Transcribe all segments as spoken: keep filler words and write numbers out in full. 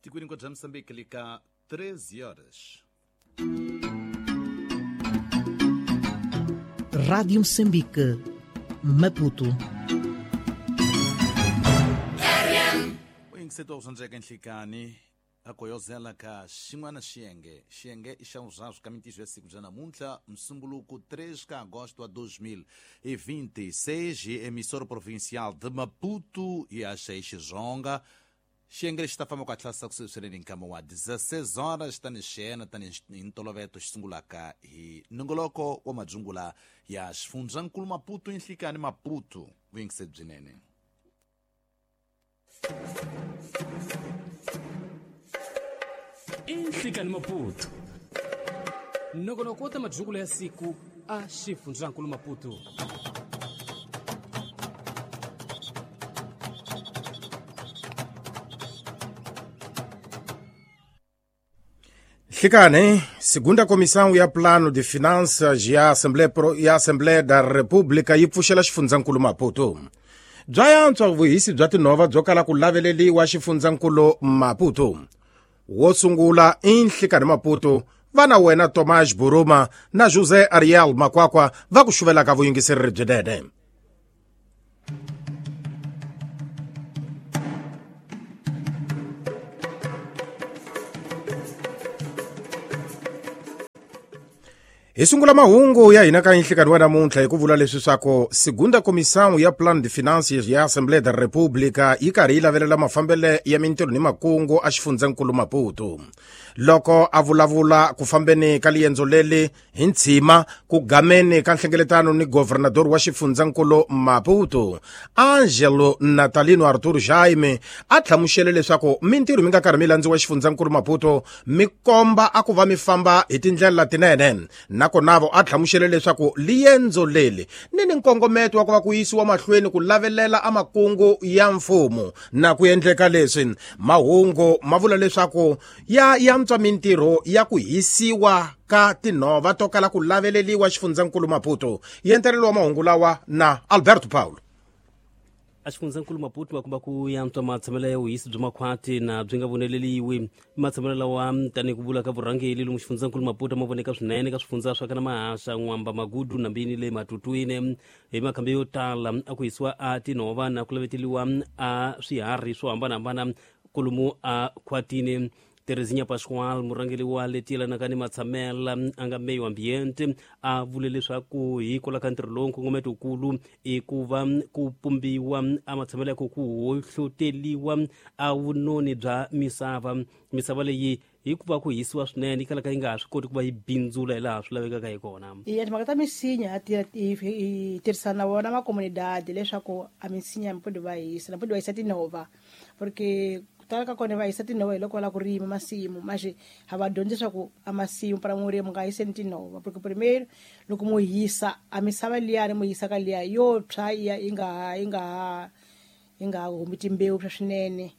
Tikweni kwa Mozambique lika treze horas. Rádio Moçambique, Maputo. Oyingiseto nhlikani akoyozela ka xin'wana xiyenge xiyenge i xa vuswaswi ka mintiso ya siku bya namuntlha msumbuluko três de agosto de dois mil e vinte e seis, emissora provincial de Maputo e a Xeixi-Zonga. Xiyenge lexi ta famba ku hatlisa ku sirheleni nkama wa dezesseis horas tani xena tani ntoloveto xi sungulaka hi nongoloko wa madzungula ya xifundzankulu Maputo nhlikani Maputo vuyingiseri byinene. Nhlikani Maputo nongonoko wa madzungula ya siku a xifundzankulu Maputo. Nhlikani, segunda Comissão ya Plano de Finanças ya Assembleia, ya Assembleia da República yi pfuxela xifundzankulu Maputo. Bya yantswa vuhisi bya tinhova byo kala ku laveleliwa xifundzankulu Maputo. Wo sungula i Nhlikani Maputo, vana wena Tomás Buruma na José Ariel Makwakwa va ku xuvelaka vuyingiseri byinene. Hi sungula mahungu ya hina ka nhlikani wa namuntlha hi ku vula leswi swa segunda Comissão ya Plano de Finanças ya Assembleia da República yi karhi yi lavelela mafambele ya mintirho ni makungu a xifundzankulu Maputo. Loko a vulavula ku fambeni ka liendzo leli hi ntshima ku gameni ka nhlengeletano ni governador wa xifundzankulu Maputo Angelo Natalino Arthur Jaime a hlamusele leswaku mintirho mi nga karhi mi landziwa xifundzankulu Maputo mi komba a ku va mi famba hi tindlela tinene. Nakona vo a hlamusele leswaku liendzo leli ni ni nkongometo wa ku va ku yisiwa mahlweni ku lavelela amakungu ya mfumo na ku endleka leswi mahungu ma vula leswaku ya yantswa mintirho ya ku hisiwa ka tinhova to kala ku laveleliwa xifundzankulu Maputo. Yentelelo wa mahungu lawa na Alberto Paulo. A xifundzankulu Maputo makumba ku yantswa matshamelo ya vuhisi bya makhwati na byi nga voneleliwi matshamelo lawa tanihi ku vula ka vurhangeri lomu xifundzankulu Maputo ma voneka swinene ka swifundza swa kana Mahasha, N'wamba, Magudu na Mbini le Matutwini. Hi makhambi yo tala a ku hisiwa a tinhova na ku laveteliwa a swiharhi swo hambanahambana kolomu a khwatini. Terezinha Pascoal, murhangeri wa leti yelanaka ni matshamela a nga meyo ambiente, a vule leswaku hikwalaho ka ntirho lowu nkongometokulu i ku va ku pumbiwa a matshamelo ya ku ku hohloteliwa a vunoni bya misava. Misava leyi hikuva ku hisiwa swinene yi kalaka yi nga ha swi koti ku va yi bindzula hi laha swi lavekaka hi kona. Iya timhaka ta misinya hi tirhisana na vona makomunidade leswaku a misinya mpodi va hisa na mpodi va hisa tinhova porque tala ka kona va hisa tinhova hi loko va lava ku rima masimu manje ha va dyondzi leswaku a masimu para murimi nga hiseni tinhova porque primeiro loko mo hisa a misava liyani mo hisa ka liya yo tshwa iya yi nga ha yi nga ha yi nga humi timbewu swa swinene.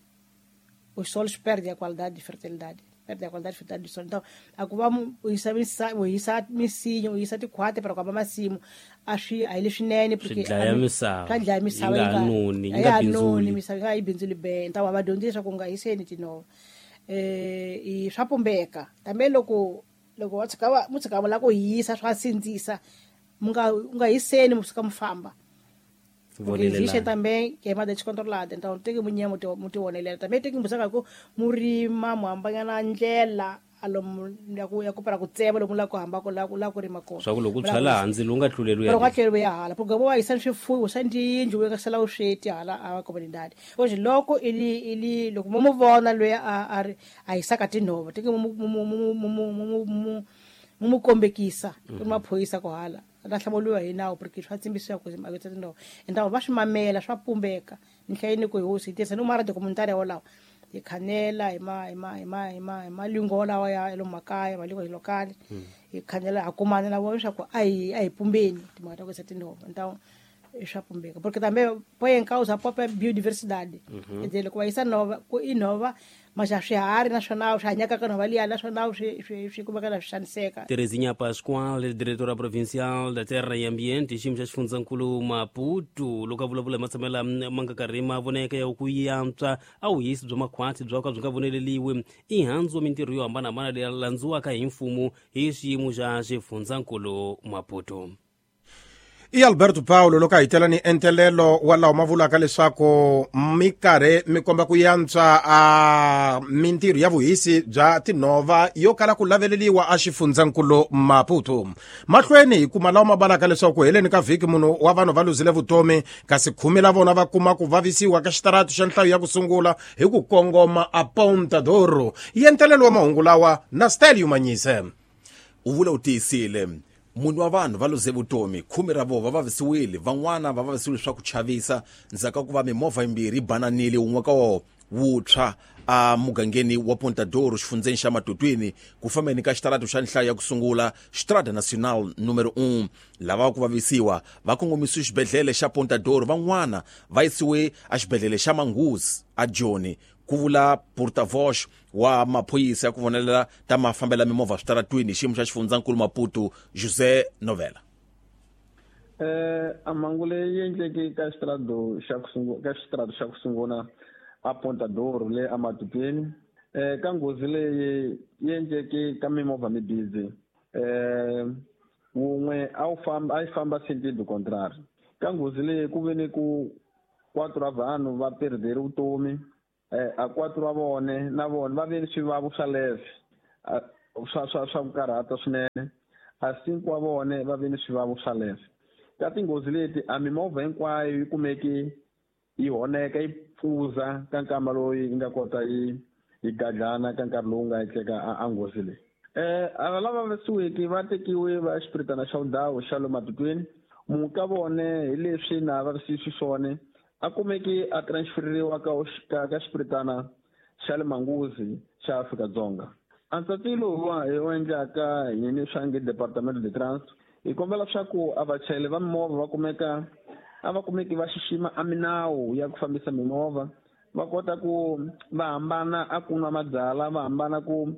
Os solos perdem a qualidade de fertilidade, perdem a qualidade de fertilidade do solo. Então, a ku va u hisa u hisa misinya u hisa tikhwati para ku hamba masimu a swi a hi leswinene porque swi dlaya misava, swa dlaya misava yi nga noni, yi nga bindzuli misava yi nga yi bindzuli be. Então, va dyondzisa ku nga hiseni tinhova eh i swa pumbeka tambe loko loko wa tshika va mu tshika va la ku hisa swa sindzisa mu nga u nga hiseni mu suka mu famba. Existe também que é mais descontrolada, então tem que munha muito muito onelela também tem que buscar ku murima muhambanya na ndlela alomu ya ku ya ku para ku tsema lomu la ku hamba ku la ku la ku rima kona swa ku loko u tshwala hansi lowu nga tluleli ya nga tluleli ya hala porque vo hisa swifuwo swa tiyindlu u nga sala u sweti hala a comunidade hoje loko ili ili loko mo vona loyi a a ri a hisaka tinhova tem que mu mu mu mu mu mu kombekisa ku maphorisa ku hala ta hlamuriwa hi nawu porque swa tsimbisiwa ku ma tinhova então va swi mamela swa pumbeka ni hlayini ku hi hosi hi tirhisa ni mara documentary wolawo hi khanela hi ma hi ma hi ma hi ma hi malingo lawa ya lomu makaya malingo hi lokali hi khanela ha kumana na vona leswaku a hi a hi pumbeni timhaka ta ku hisa tinhova. Então swa pumbeka porque também põe em causa a própria biodiversidade. Uhum. Quer dizer, loko va yisa nhova ku i nhova mas a swiharhi naswona swi hanyaka ka nhova liya naswona swi swi swi kumeka na swi xaniseka. Terezinha Pascoal, diretora provincial da Terra e Ambiente, xiyimo xa xifundzankulu Maputo, loko a vulavula hi matshamelo ma nga karhi ma voneka ya ku yantswa a vuhisi bya makhwati bya ka byi nga voneleliwi i handzu wa mintirho yo hambanahambana leyi landziwaka hi mfumo hi xiyimo xa xifundzankulu Maputo. I Alberto Paulo loko a hi tela ni entelelo wa lawa ma vulaka leswaku mi karhi mi komba ku yantswa a mintirho ya vuhisi bya tinhova yo kala ku laveleliwa a xifundzankulu Maputo. Mahlweni hi kuma lawa ma balaka leswaku heleni ka vhiki munhu wa vanhu va luzile vutomi kasi khume la vona va kuma ku vavisiwa ka xitaratu xa nhlayo ya ku sungula hi ku kongoma a Ponta Doro. Yentelelo wa mahungu lawa na Stelio Manyise. U vula u tiyisile munhu wa vanhu va luze vutomi khume ra vona va vavisiwile van'wana va vavisiwile swa ku chavisa ndzhaku ka ku va mimovha yimbirhi yi bananile wun'we ka wona wutshwa a mugangeni wa Ponta Doro xifundzeni xa Matutwini ku fambeni ka xitaratu xa nhlayo ya ku sungula Estrada Nacional numero um. Lava ku vavisiwa va kongomisiwe xibedhlele xa Ponta Doro van'wana va yisiwe a xibedhlele xa Manguzi a Joni ku vula porta-voz wa maphorisa ya ku vonelela ta mafambela mimovha switaratwini hi xiyimo xa xifundzankulu Maputo José Novela. Eh a mhangu leyi endleke ka xitarado xa ku sungula ka xitarado xa ku sungula a Ponta Doro le a Matutwini eh ka nghozi leyi yi endleke ka mimovha mibizi eh wun'we a wu famba a yi famba sentido contrario ka nghozi leyi ku ve ni ku quatro ra vanhu va perdere vutomi eh a quatro va vone na vona va ve ni swivavo swa leve swa swa swa ku karhata swinene a cinco wa vone va ve ni swivavo swa leve ka tinghozi leti a mimovha hinkwayo yi kumeki yi honeka yi pfuza ka nkama loyi yi nga kota yi yi gadlana ka nkarhi lowu nga endleka a nghozi leyi. Eh ava lava vavisiweke va tekiwe va xipiritana xa vundhawu xa le Matutwini munhu ka vone hi leswi na vavisiwi xiswona a kumeki a transferiwa ka ka xipiritana xa le Manguzi xa Afrika-Dzonga. A ntsatilo wa hi wu endlaka hi swa nge Departamento de Trânsito hi kombela leswaku a vachayeri va mimovha va kumeka a va kumeki va xixima a minawu ya ku fambisa mimovha va kota ku va hambana a ku nwa mabyalwa va hambana ku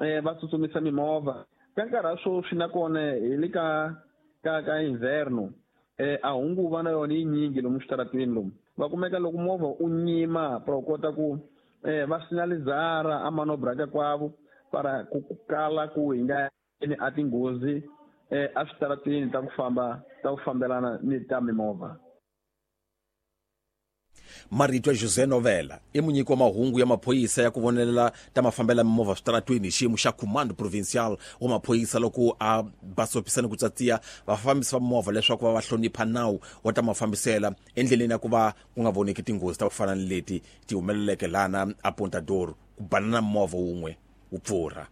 eh va tsutsumisa mimovha ka nkarhi wa sweswi nakona hi le ka ka ka inverno eh a hunguva na yona yi nyingi lomu switaratwini lomu va kumeka loko movha u nyima para u kota ku eh va sinalizara a manobra ka kwavo para ku kala ku hi nga a tinghozi eh a switaratwini ta ku famba ta ku fambelana ni ta mimovha. Marito ya José Novela i munyiki wa mahungu ya maphorisa ya ku vonelela ta mafambela mimovha switaratwini hi xiyimo xa Comando Provincial wa maphorisa loko a basopisa ni ku tsatsiya vafambisi va mimovha leswaku va va hlonipha nawu wa ta mafambisela endleleni ya ku va ku nga voneki tinghozi ta ku fana ni leti ti humeleleke lana a Ponta Doro ku banana movha wun'we wu pfurha.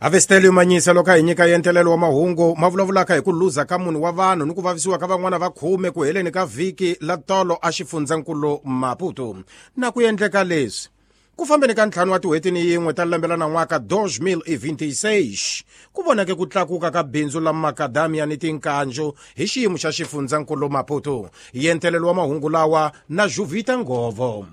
Avestelio Manyisa loko a hi nyika yentelelo wa mahungu ma vulavulaka hi ku luza ka munhu wa vanhu ni ku vavisiwa ka van'wana va khume ku heleni ka vhiki la tolo a xifundzankulu Maputo. Na ku endleka leswi ku fambeni ka ntlhanu wa tin'hweti ni yin'we ta lembe la nan'waka dois mil e vinte e seis ku vonake ku tlakuka ka bindzu la makadamia ni tinkanjo hi xiyimo xa xifundzankulu Maputo. Yentelelo wa mahungu lawa na Juvita Ngovo.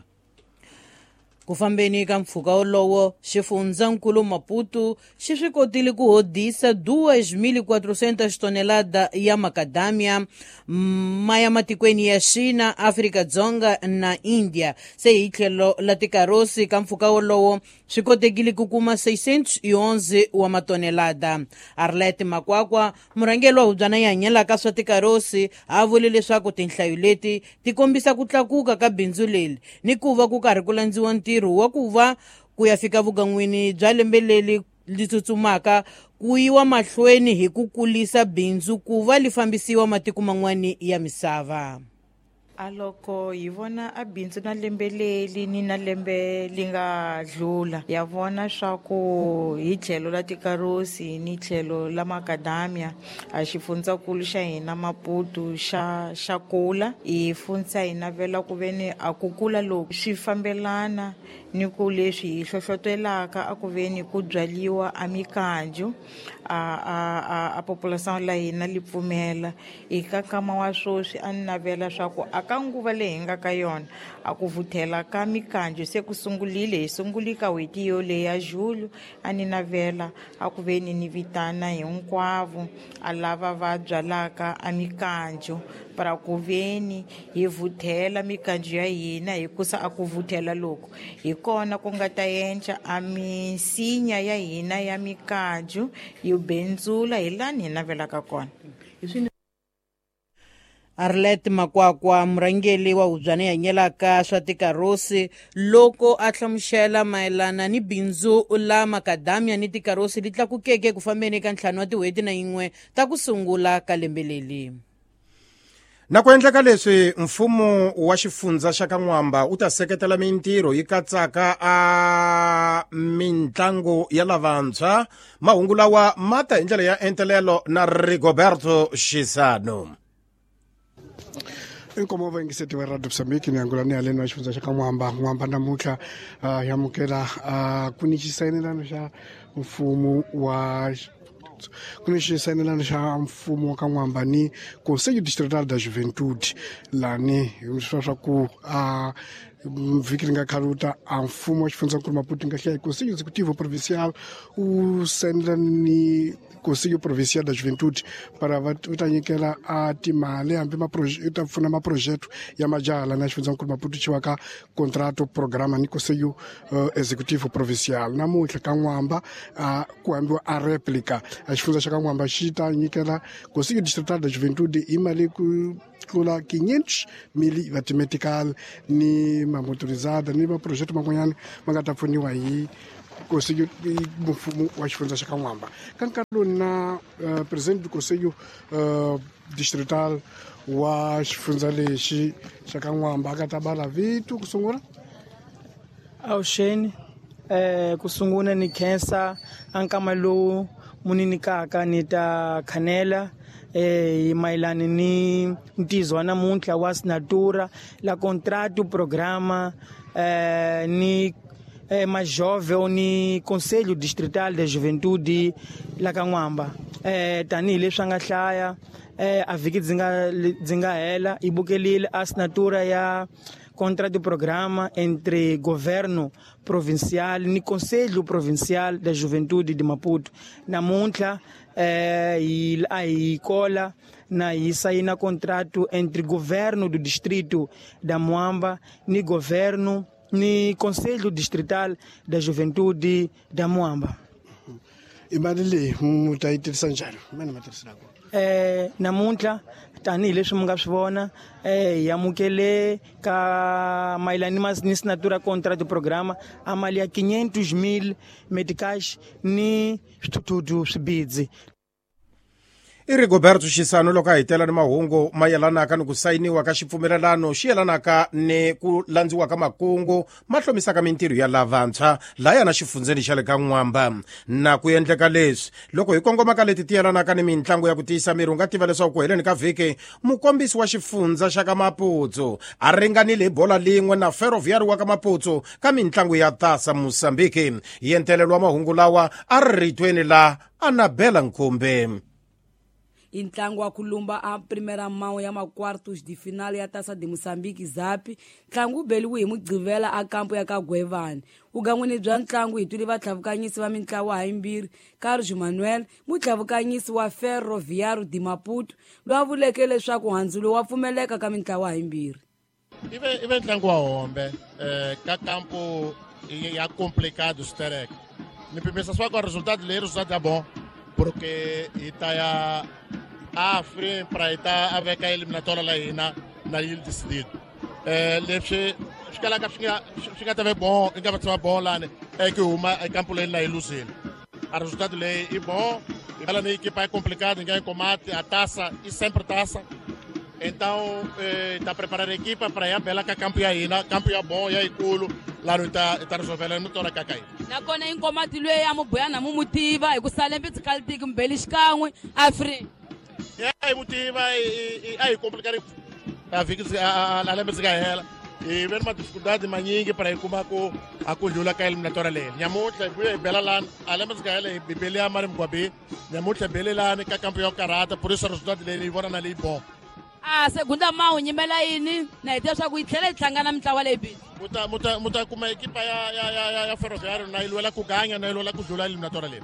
Ku fambeni ka mpfhuka wolowo xifundzankulu Maputo xi swi kotile ku hodisa duas mil e quatrocentas tonelada ya makadamia ma ya matikweni ya China, Afrika-Dzonga na India. Se hi tlhelo la tikarosi ka mpfhuka wolowo swi kotekile ku kuma seiscentos e onze wa matonelada. Arlette Makwakwa, murhangeri wa hubyana yi hanyelaka swa tikarosi, a vule leswaku tinhlayo leti ti kombisa ku tlakuka ka bindzu leri ni ku va ku karhi ku landziwa ntirho wa ku va ku ya fika vugan'wini bya lembe leri li tsutsumaka ku yiwa mahlweni hi ku kulisa bindzu ku va li fambisiwa matiko man'wani ya misava. A loko hi vona a bindzu na lembe leri ni na lembe li nga dlula, ya vona swa ku hi tlhelo la tikarosi ni tlhelo la makadamia a xifundzankulu xa hina Maputo xa xa kula. Hi fundza hi navela ku veni a ku kula loku swi fambelana ni ku leswi hi hlohlotelaka a ku veni ku byaliwa a mikanju a a a, a population la hina li pfumela. Eka nkama wa swoswi a ni navela swa ku a ka nguva leyi hi nga ka yona a ku vuthela ka mikanju se ku sungulile, hi sunguli ka n'hweti yoleyi ya julho. A ni navela a ku veni ni vitana hinkwavo a lava va byalaka a mikanju para ku veni hi vuthela mikanju ya hina, hikusa a ku vuthela loku hi kona ku nga ta endla a misinya ya hina ya mikanju yi bendzula hi lani hi navelaka kona. Arlet Makwakwa, murhangeri wa hubyana hanyelaka swa tikarosi, loko a hlamusela mayelana ni bindzu la makadamia ni tikarosi li tlakukeke ku fambeni ka ntlhanu wa tin'hweti na yin'we ta ku sungula ka lembe leri. Na ku endleka leswi, mfumo wa xifundza xa ka N'wamba wu ta seketela mintirho yi katsaka a mintlangu ya lavantshwa. Mahungu lawa ma ta hi ndlela ya entelelo na Rigoberto Xisano. Inkomo vayingiseti va Radio Mozambique, ni angula ni haleni wa xifundza xa ka N'wamba. N'wamba namuntlha uh, hi amukela uh, ku ni xisayinelano xa mfumo wa ku ni xisayinelano xa mfumo wa ka N'wamba ni Conselho Distrital da Juventude. Lani swa swa ku uh, vhiki ri nga khaluta a mfumo wa xifundzankulu Maputo nga hlaya Conselho Executivo Provincial wu sayinela ni Conselho Provincial da Juventude para va ta nyikela a timali hambi yi ta pfuna maprojeto ya majaha lana xifundzankulu Maputo xiwa ka contrato programa ni Conselho uh, Executivo Provincial. Namuntlha ka N'wamba uh, ku hambiwa a replica a xifundza xa ka N'wamba xi ta nyikela Conselho Distrital da Juventude hi mali ku tlula quinhentos mil va timetical ni mamotorizada ni maprojeto man'wanyana ma nga ta pfuniwa hi Conselho mfumo wa xifundza xa ka N'wamba. Ka nkarhi lowu na uh, president du Conselho uh, Distrital wa xifundza lexi xa ka N'wamba a ka ta bala vito ku sungula. Avuxeni, eh ku sungula ni khensa a nkama lowu mu ni nyikaka ni ta khanela eh mayelana ni ntizo wa namuntlha wa assinatura la contrato programa eh ni eh, majove ni Conselho Distrital de Juventude la ka N'wamba. eh tanihileswi a nga hlaya eh a vhiki dzi nga dzi nga hela i bukelile assinatura ya contrato programa entre governo provincial ni Conselho Provincial da Juventude de Maputo. Namuntlha eh hi a hi kola na hi sayina contrato entre governo do distrito da Moamba ni governo ni Conselho Distrital da Juventude da Moamba. I mali leyi mu ta yi tirhisa njhani mani ma tirhisela kona? Eh namuntlha tanihileswi mi nga swi vona eh hi amukele ka mayelana ni assinatura contrato programa a mali ya quinhentos mil meticais ni swithuthuthu swibidzi. I Rigoberto Xisano loko a hitela ni mahungu mayelanaka ni ku sayiniwa ka xipfumelelano xi yelanaka ni ku landziwa ka makungu ma hlomisaka mintirho ya lavantshwa laya na xifundzeni xa le ka N'wamba. Na ku endleka leswi loko hi kongoma ka leti ti yelanaka ni mintlangu ya ku tiyisa miri, u nga tiva leswaku ku heleni ka vhiki mukombisi wa xifundza xa ka Maputo a ringanile hi bola lin'we na Ferroviário wa ka Maputo ka mintlangu ya Taça Moçambique. Yentelelo wa mahungu lawa a ri ritweni la Anabela Nkumbe. I ntlangu wa ku lumba a primeira mão ya ma-quartos de final ya Taça de Moçambique zapi. Ntlangu wu beliwe hi Mugqivela a kampo ya ka Gwevani. Vugan'wini bya ntlangu hi twile vatlhavukanyisi va mintlawa hayimbirhi, Carlos Manuel mutlhavukanyisi wa Ferroviário de Maputo loyi a vuleke leswaku handzulo wa pfumeleka ka mintlawa hayimbirhi. Ive ive ntlangu wa hombe eh, ka kampo ya complicado sterek ni pimisa swa ku resultado leyi resultado ya bom porque hi ta ya a free para hi ta a veka eliminatória la hina na yi decidido. Eh leswi swi kalaka swi nga swi nga ta ve bon i nga va tshama bon lani e ku huma ekampo leyi na yi luzile. A resultado leyi i bon i vala ni equipa é complicado ninguém combate a taça e sempre taça. Então está preparando a equipa para ir bela ka campo ya hina, campo ya bom ya ikulu lá no tá tá resolvendo no tora kakai. Nakona inkomati lwe ya mubuyana mumutiva hi ku salembe tsikaltiki mbeli xikan'we afri. Ya hi mutiva a hi complicado a viki a lembe tsika hela. E vem uma dificuldade manyingi para ir kuma ku a ku dlula ka eliminatoria leyi. Nyamutlha hi vuya hi bela lani a lembe tsika hela hi bele ya mari mgwabi. Nyamutlha hi bele lani ka campo ya karata, por isso resultado leyi hi vona na leyi bom. A segunda mawu nyimela yini na hi tiva swa ku yi tlhela yi hlangana mintlawa leyi bili. Muta muta muta kuma ekipa ya ya ya ya Ferroviário na yi lwela ku ganya na yi lwela ku dlula eliminatoria leyi.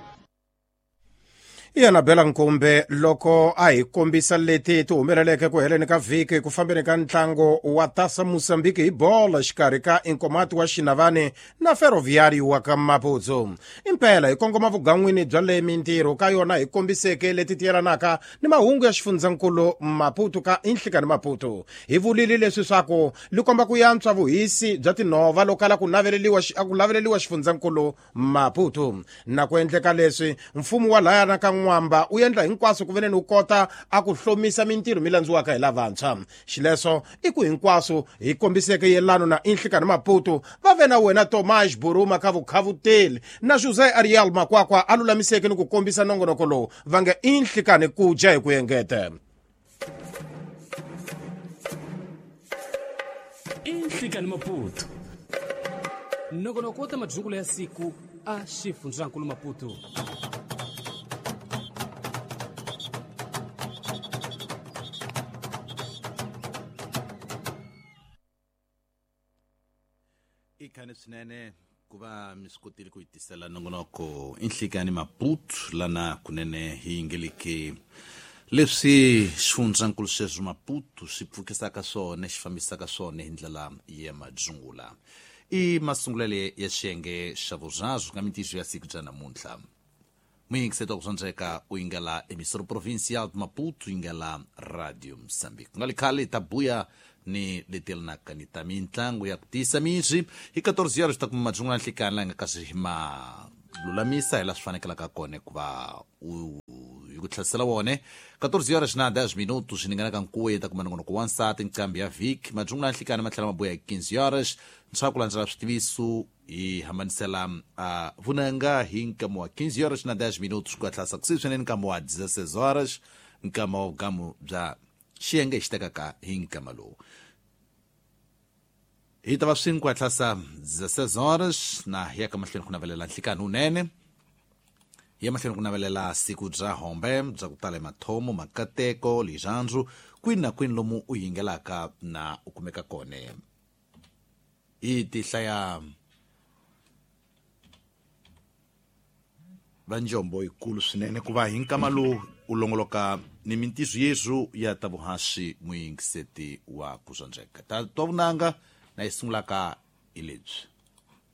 Yena Bela Nkumbe loko a hi kombisa leti ti humeleleke ku heleni ka vhiki ku fambeni ka ntlango wa Taça Moçambique hi bolo xikarhi ka Inkomati wa Xinavane na Ferroviário wa ka Maputo. Impela hi kongoma vugan'wini bya le mintirho ka yona hi kombiseke leti ti yelanaka ni mahungu ya xifundzankulu Maputo ka Inhlikani Maputo. Hi vulile leswi swaku li komba ku yantswa vuhisi bya tinhova loko kala ku naveleliwa ku laveleliwa xifundzankulu Maputo. Na ku endleka leswi mfumo wa laya na ka Mwamba u endla hinkwaswo ku veneni u kota a ku hlomisa mintirho mi landziwaka hi lavantshwa. Xileswo i ku hinkwaswo hi kombiseke yelano na Inhlikani Maputo va ve na wena Tomás Buruma ka vukhavuteli na José Ariel Makwakwa a lulamiseke ni ku kombisa nongonoko lowu va nge Inhlikani ku dya hi ku engeta. Inhlikani Maputo nongonoko wa ta madzungulo ya siku a xifundzankulu Maputo. Ikhani swinene ku va mi swi kotile ku yi tisela nongonoko Inhlikani Maputo lana kunene hi yingeleke leswi xifundzankulu sweswo Maputo swi pfukisaka swona xi fambisaka swona hi ndlela ya madzungula. I masungulele ya xiyenge xa vurharu ka mintirho ya siku bya namuntlha. Muyingiseti wa ku dzondzeka u yingela Emissora Provincial de Maputo, yingela Radio Moçambique. Ku nga li khale ta buya ni leti yelanaka ni ta mintlangu ya ku tiyisa miri hi quatorze horas ta kuma madzungula nhlikani laha nga kasi ma lulamisa hi laha swi fanekelaka kona ku va u hi ku tlherisela wone. quatorze horas na dez minutos swi ninganaka nkuwe ta kuma nongonoko wa nsati nqambi ya vhiki. Madzungula nhlikani ma tlhela ma buya hi quinze horas ntshwa ku landzela switiviso hi hambanisela uh, vunanga hi nkama wa quinze horas na dez minutos ku hatlasa kusuhi swinene nkama wa dezesseis horas nkama wa vugamu bya xiyenge xi tekaka hi nkama lowu. Hi ta va swin'we ku hatlasa dezesseis horas na hi ya ka mahlweni ku navelela nhlikani wunene. Hi ya mahlweni ku navelela siku bya hombe bya ku tala mathomo makateko lirhandzu kwini na kwini lomu u yingelaka na u kumeka kona. Hi tihlaya va njombo yikulu swinene ku va hi nkama lowu u longoloka ni mintiso yesu ya ta vuhaxi muyingiseti wa ku dzondzeka. Ta twa vunanga na yi sungulaka hi lebyi.